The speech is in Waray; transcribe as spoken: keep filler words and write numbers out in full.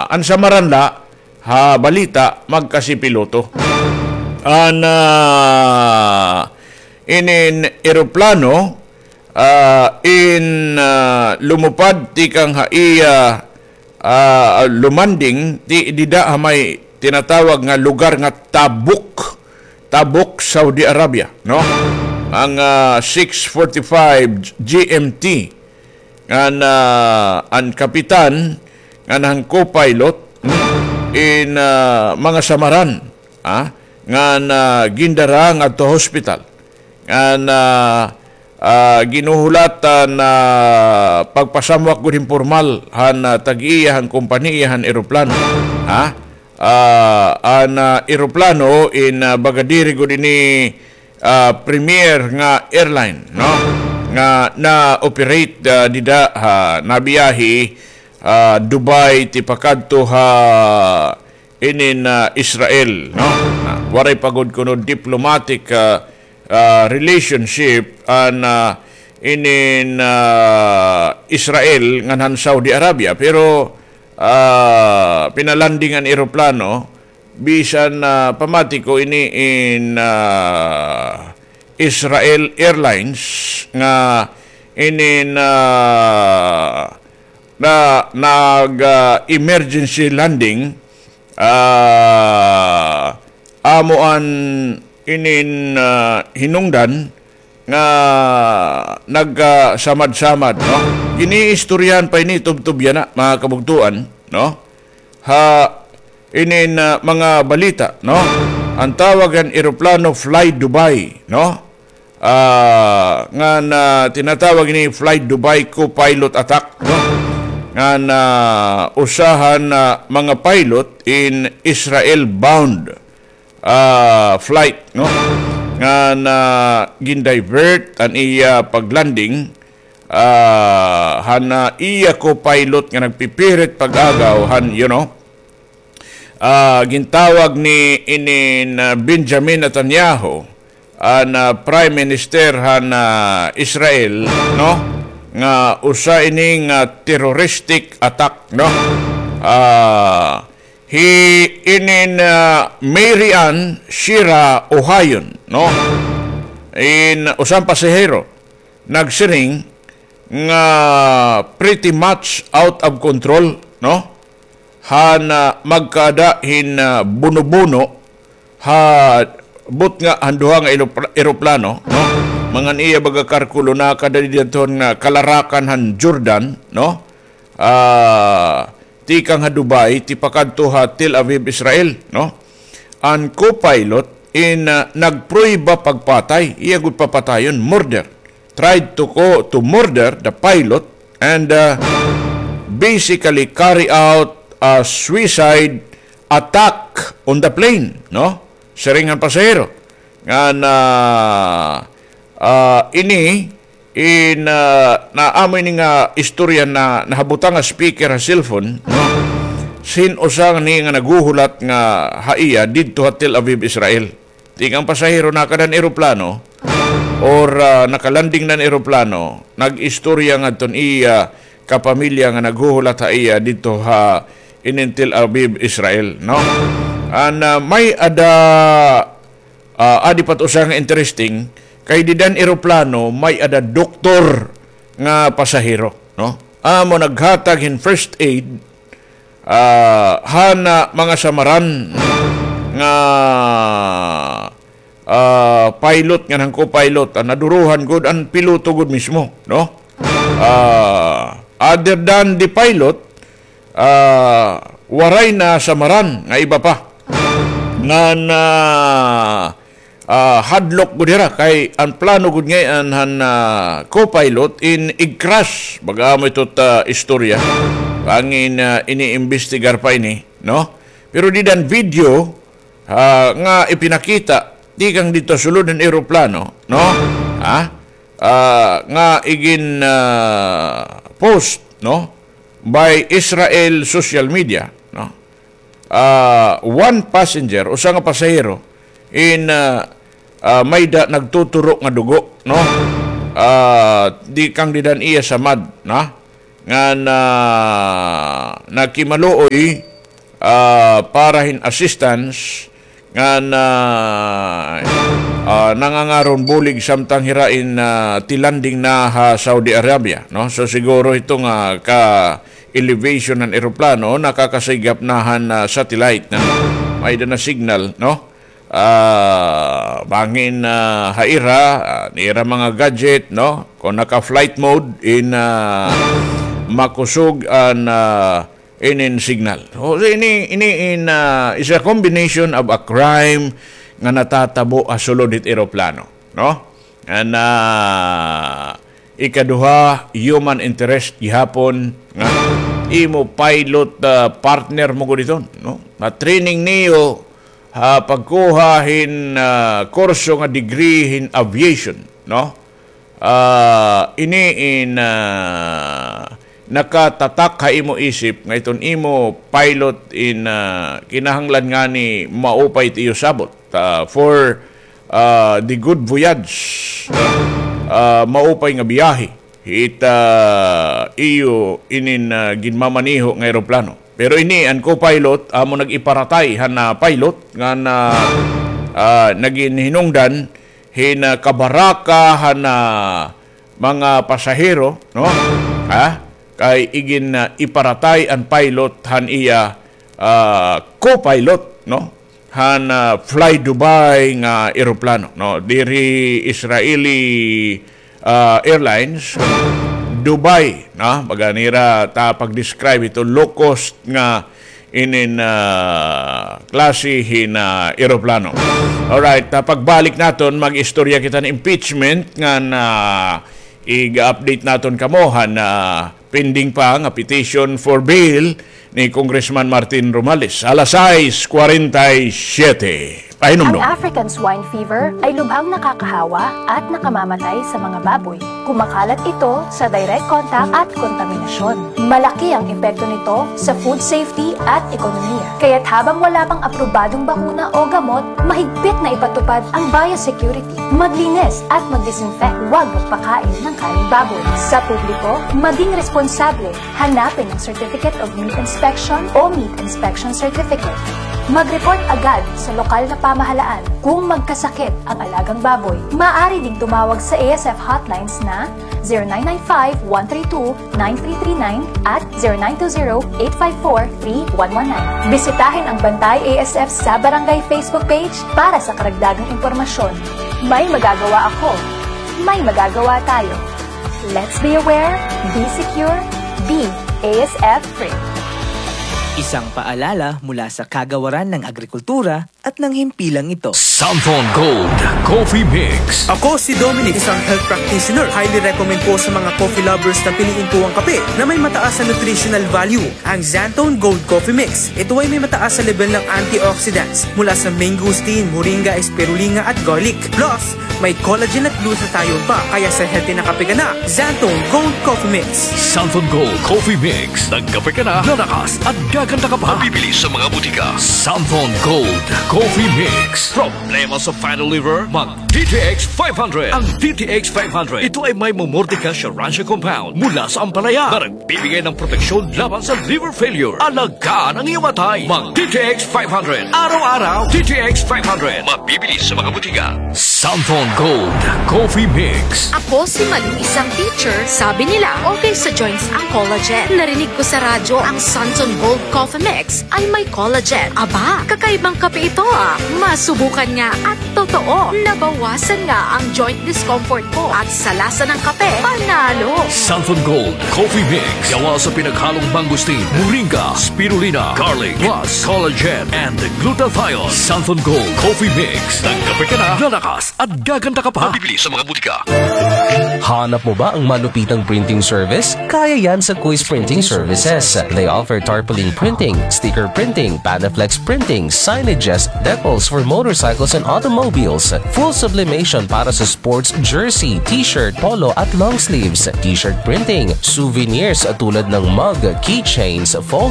An samaran la ha balita, magkasi piloto. An, ah, inin eroplano, ah, in, ah, lumupad tikang ha iya, ah, lumanding, ti-, dida ha may tinatawag nga lugar nga Tabuk. Tabuk, Saudi Arabia, no? Mga six forty-five G M T. Ngan, ah, an kapitan, ngan han co-pilot, hmm, in, ah, mga samaran, ah, ngan, ah, gindara ngadto hospital. Ngan, ah, ah, ginhuhulatan, ah, pagpasamwak gud hin pormal han, ah, tag-iya han kompanya han eroplano. Ha? Ah, an, ah, eroplano in, ah, baga diri gud ini, ah, premier nga airline, no? Nga na-operate, ah, dida ha nabiyahe, ah, Dubai tipakadto ha inin, ah, Israel, no? Na, waray pa gud kuno diplomatic, ah, ah, relationship an, ah, inin, ah, Israel ngan han Saudi Arabia, pero, ah, pinalanding an eroplano bisan, ah, pamati ko ini in, ah, Israel Airlines nga inin, ah, na nag, ah, emergency landing, ah, amo an inin, ah, hinungdan nga nagkasamad-samad, no? Giniistoryahan pa ini tubtob yana, mga kabugtoan, no? Ha inin, ah, mga balita, no? An tawag han eroplano Fly Dubai, no? Ah, ngan, ah, tinatawag ini Fly Dubai co-pilot attack, no? Ngan, ah, usa han, ah, mga pilot in Israel bound, ah, flight, no? Ngan, ah, gindivert an iya paglanding, ah, han, ah, iya co-pilot nga nagpipirit pag-agaw han, you know, ah, gintawag ni inin, ah, Benjamin Netanyahu, an, ah, Prime Minister han, ah, Israel, no? Nga usa ini nga terroristic attack, no? Ah, hi inin, ah, Mary Ann Shira Ohayon, no? In usa nga pasahero nagsiring nga pretty much out of control, no? Han, ah, magkaada hin, ah, buno-buno ha butnga han duha nga elopla-, eroplano, no? Mga an iya baga karkulo, nakada didto han, ah, kalarakan han Jordan, no? Ah, tikang ha Dubai, tipakadto ha Tel Aviv, Israel, no? An co-pilot in, ah, nagprueba pagpatay, iya gud papatayon, murder. Tried to co-, to murder the pilot and, ah, basically carry out a suicide attack on the plane, no? Siring han pasahero. Ngan, ah, ah, ini, in, ah, naamo ini nga istorya na nahabutang nga speaker ha cellphone, no? Sin usa ni nga naghuhulat nga ha iya didto ha Tel Aviv, Israel. Tikang pasahero nakada han eroplano or, ah, nakalanding na an eroplano, nag-istorya ngadto an iya kapamilya nga naghuhulat ha iya didto ha inin Tel Aviv, Israel, no? An, ah, may-ada, ah, adi pa it usa nga interesting, kay dida han eroplano may-ada doktor nga pasahero, no? Amo naghatag hin first aid, ah, han, ah, mga samaran nga, ah, pilot ngan han co-pilot, ah, nadurohan gud an piloto gud mismo, no? Ah, other than the pilot, ah, waray nasamaran nga iba pa. Ngan, ah, ah, hadlok gud hira kay an plano gud ngay-an han, ah, co-pilot in ig-crash. Baga amo ito ta istorya. Bangin, ah, iniimbestigar pa ini, no? Pero dida han video, ah, nga ipinakita tikang didto sulod han eroplano, no? Ha? Ah, nga igin, ah, post, no? By Israel social media, no? Ah, one passenger, usa nga pasahero, in, ah, ah, may-ada nagtuturo nga dugo, no? Ah, tikang dida han iya samad, na? Ngan, ah, nakimaluoy, ah, para hin assistance ngan, ah, ah, nangangaron bulig samtang hira in, ah, ti-landing na ha Saudi Arabia, no? So, siguro ito nga ka-elevation han eroplano, nakakasigap na han, ah, satellite na may-ada na signal, no? Ah, bangin, ah, ha ira, ah, nira mga gadget, no? Kon naka-flight mode, in, ah, makusog an, ah, inin signal. So, ini, ini in, ah, is a combination of a crime nga natatabo ha sulod hit eroplano, no? An, ah, ikaduha, human interest gihapon nga imo pilot, ah, partner mo gud iton, no? Ma-training niyo ha pagkuha hin, ah, kurso nga degree hin aviation, no? Ah, ini in, ah, nakatatak ha imo isip nga iton imo pilot in, ah, kinahanglan ngani maupay it iyo sabot, ah, for, ah, the good voyage, ah, maupay nga biyahe hit, ah, iyo inin, ah, ginmamaneho nga eroplano. Pero ini an co-pilot amo nag-iparatay han, ah, pilot ngan, ah, naghinungdan hin, ah, kabaraka han, ah, mga pasahero, no? Ha? Kay igin, ah, iparatay an pilot han iya, ah, co-pilot, no? Han, ah, Fly Dubai nga eroplano, no? Diri Israeli, ah, Airlines, Dubai, no? Baga nira ta pag-describe ito, low cost nga inin, ah, klase hin, ah, eroplano. Alright, ah, pagbalik naton, mag-istorya kita hin impeachment ngan, ah, iga-update naton kamo han, ah, pending pa nga petition for bail ni Congressman Martin Romualdez. Alas sais kwarenta y siyete. Pahinumdom. Ang African swine fever ay lubhang nakakahawa at nakamamatay sa mga baboy. Kumakalat ito sa direct contact at kontaminasyon. Malaki ang epekto nito sa food safety at ekonomiya. Kaya't habang wala pang aprobadong bakuna o gamot, mahigpit na ipatupad ang biosecurity. Maglinis at mag-disinfect. Huwag magpakain ng karneng baboy. Sa publiko, maging responsable. Hanapin ang Certificate of Meat Inspection o Meat Inspection Certificate. Mag-report agad sa lokal na pamahalaan kung magkasakit ang alagang baboy. Maaari ding tumawag sa A S F hotlines na zero nine nine five, one three two, nine three three nine at zero nine two zero, eight five four, three one one nine. Bisitahin ang Bantay A S F sa Barangay Facebook page para sa karagdagang impormasyon. May magagawa ako. May magagawa tayo. Let's be aware, be secure, be A S F free. Isang paalala mula sa Kagawaran ng Agrikultura at ng himpilang ito. Santhon Gold Coffee Mix. Ako si Dominic, isang health practitioner. Highly recommend po sa mga coffee lovers na piliin po ang kape na may mataas na nutritional value, ang Xanthone Gold Coffee Mix. Ito ay may mataas na level ng antioxidants mula sa mangosteen, moringa, spirulina at garlic. Plus, may collagen at glutathione pa, kaya sa healthy na kape ka na, Xanthone Gold Coffee Mix. Santhon Gold Coffee Mix. Nagkape ka na, lalakas at gaganda ka pa. Mabibili sa mga butika. Santhon Gold Coffee Mix. Problema sa fatty liver? Mag D T X five hundred. Ang D T X five hundred, ito ay may Momordica Schirransia compound mula sa ampalaya na nagbibigay ng proteksyon laban sa liver failure. Alagaan ang iyong atay. Mag D T X five hundred. Araw-araw, D T X five hundred. Mabibili sa mga butika. Santhon Gold Coffee Mix. Ako si Malu, isang teacher. Sabi nila, okay sa joints ang collagen. Narinig ko sa radyo ang Santhon Gold Coffee Mix ay may collagen. Aba, kakaibang kape ito, ah. Masubukan nga at totoo, nabawasan nga ang joint discomfort ko at sa lasa ng kape, panalo. Santhon Gold Coffee Mix. Gawa sa pinaghalong mangosteen, moringa, spirulina, garlic, plus collagen and glutathione. Santhon Gold Coffee Mix. Nagkape ka na, lalakas at gaganda ka pa. Mabibili sa mga butika. Hanap mo ba ang malupitang printing service? Kaya yan sa Quiz Printing Services. They offer tarpaulin printing, sticker printing, Panaflex printing, signages, decals for motorcycles and automobiles, full sublimation para sa sports jersey, t-shirt, polo at long sleeves, t-shirt printing, souvenirs tulad ng mug, keychains, phone